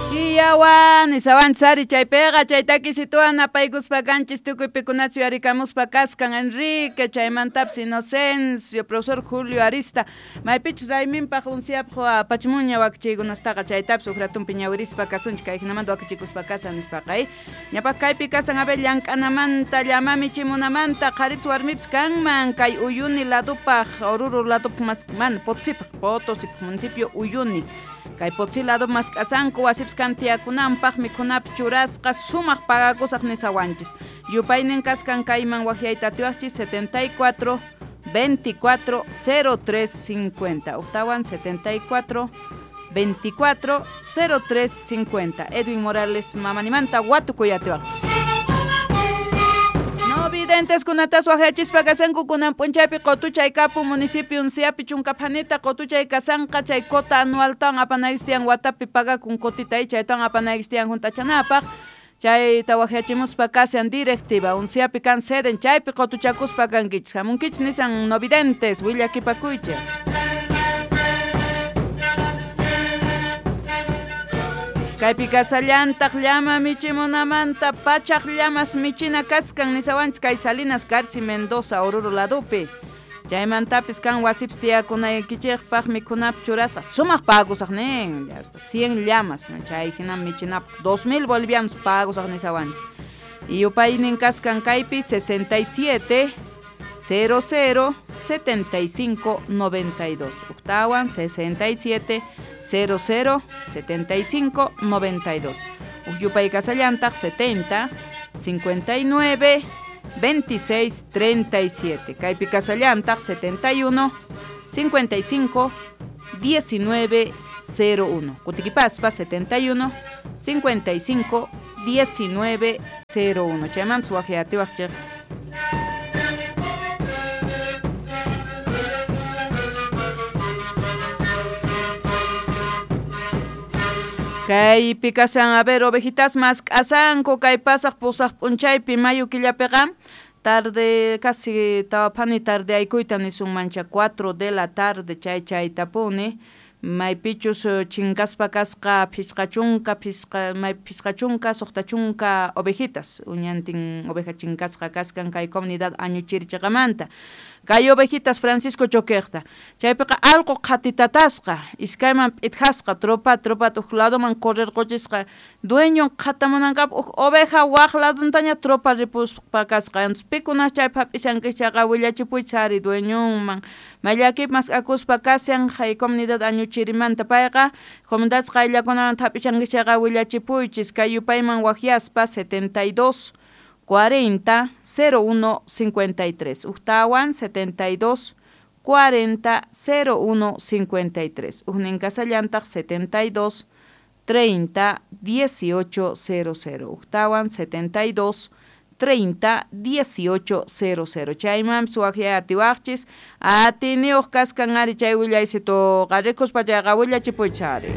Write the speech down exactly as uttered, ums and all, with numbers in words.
Iyawan isawanchis chaypiqa chay takisituwan apaykuspa kanchis tukuy pikunachu yarikamuspa kaskan Enrique chaymantapis Inocencio, profesor Julio Arista maypichus rayminpaq unsiapaq apachimunña wakichiykunastaqa chaytapis uj ratunpi ñawirispa kasunchik kay hinamanta wakichikuspa kasan nispaqa ñapaq kaypi kasan a ver llank'anamanta llama michimunamanta qharipis warmipis kanman kay Uyuni ladupaq Oruro ladupaq mas mana Potosipaq Potosipaq municipio Uyuni kay Potosí lado mask'asanku wasipis kan tiyakunanpaq mikhunapis churasqa sumaq pagakusaq nisawanchis yupaynin kaskan kayman waqyayta atiwaqchis setenta y cuatro veinticuatro cero tres cincuenta octawan setenta y cuatro veinticuatro cero tres cincuenta Edwin Morales mamanimanta watukuy atiwaqchis. No videntes kunatas waqyachispa kasanku kunan p'unchaypi qotuchay kapu municipio Unciapi chunkaphanita qotuchay kasanqa chay cota anualtawan apanaykistiyan watapi pagakun cotita chaytawan apanaykistiyan junt'achanapaq chayta waqyachimuspa kasan directiva Unciapi kan seden chaypi qotuchakuspa kankichis hamunkichis nisan no videntes willakipakuychik. Kaypi kasallantaq llama michimunamanta pachaq llamas michina kaskan nisawanchis kay Salinas Garci Mendoza Oruro ladupi chaymantapis kan wasipis tiyakunaykichikpaq mikhunapaq churasqa sumaq pagusaq nin hasta cien llamas chay hinam michinapaq dos mil bolivianos pagusaq nisawanchis y yupaynin kaskan kaypi sesenta y siete cero cero setenta y cinco noventa y dos octawan sesenta y siete cero cero setenta y cinco noventa y dos Ukyupay kasallantaq setenta cincuenta y nueve veintiséis treinta y siete Kaypi kasallantaq setenta y uno cincuenta y cinco diecinueve cero uno Kutikipaspa setenta y uno cincuenta y cinco diecinueve cero uno Chaymanpis waqyatiwaqchik. Kaypi kasan a ver ovejitas mask'asanku kay pasaq pusaq p'unchaypi mayo killapiqa tarde casi tawaphani tarde aykuyta nisunmancha cuatro de la tarde chay chaytapuni maypichus chinkaspa kasqa phisqa chunka phisqa may phisqa chunka suqta chunka ovejitas uñantin oveja chinkasqa kaskan kay comunidad Añuchirichiqamanta kay ovejitas Francisco Choqueqta chaypiqa allqu qhatitatasqa iskayman p'itjasqa tropa tropa uj ladoman correrquchisqa dueño qhatamunankapaq uj oveja waq laduntaña tropa ripuspa kasqa entonces pikunas chaypi hap'isankichayqa willachipuychis ari dueñonman mayllakipi mask'akuspa kashan kay comunidad Añuchirimanta payqa comunidad qayllakunamanta hap'ishankichayqa willachipuychis kay yupayman waqyaspa setenta y dos cuarenta cero uno cincuenta y tres Ujtawan setenta y dos cuarenta cero uno cincuenta y tres Ujnin kasallantaq setenta y dos treinta dieciocho cero cero Ujtawan setenta y dos treinta dieciocho cero cero Chaymanpis waqyay atiwaqchis atiniyuq kaskan ari chay willaysituqa rikuspa chayqa willachipuychis ari.